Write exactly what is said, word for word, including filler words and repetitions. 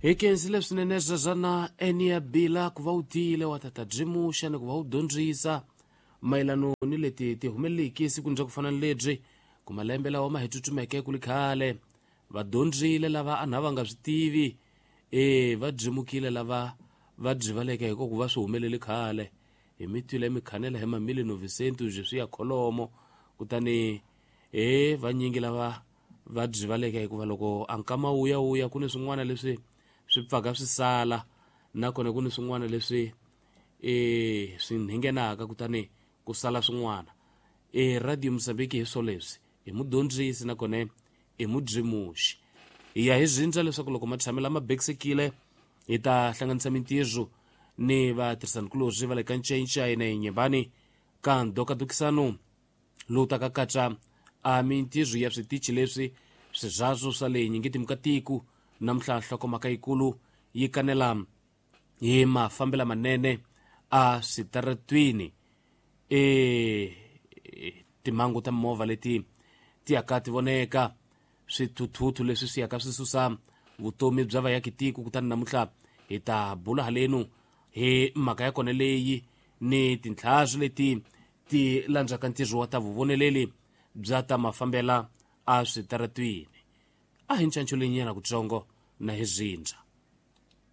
Hi khensile swinene sweswana enia bila ku va u tiyile wa tata byimuxa ni ku va u dyondzisa mayelano ni leti ti humeleliki sikwini bya ku fana ni lebyi ku malembe lawa ma hi tsutsumeke ku li khale va dyondzile lava a na va nga swi tivi e va dyimukile lava va byivaleke hi ku va swi humelele khale hi mi twile mi khanela hi mamili novicento byi ya kholomo kutani e vanyingi lava va byivaleke hikuva loko a nkama wuya wuya ku ni swin'wana leswi swi pfaka swi sala nakona ku ni swin'wana leswi e swi nghenaka kutani ku sala swin'wana e Radio Mozambique hi swo leswi hi mudyondzisi nakona i mudyimuxi hi ya hi zindza leswaku loko matshami lama bekisekile hi ta hlanganisa mintirho ni vatirhisanikulorhi va le ka ncenca na yinyembani ka ndokadokisano lowu taka katsa a mintirho ya switichi leswi swirhazo swa le nyingitimu ka tiko namuntlha nhlokomhaka yikulu yi kanela hi mafambela manene a switaratwini e timhangu ta mimovha leti ti yaka ti voneka swithuthuthu leswi swi yaka swi susa vutomi bya vayakitiko kutani namuntlha hi ta bula halenu hi mhaka ya kona leyi ni tintlhaswi leti ti landzaka ntirho wa ta vuvoneleli bya ta mafambela a switaratwini a hi ncanco leyinyana kutsongo na hi zindza.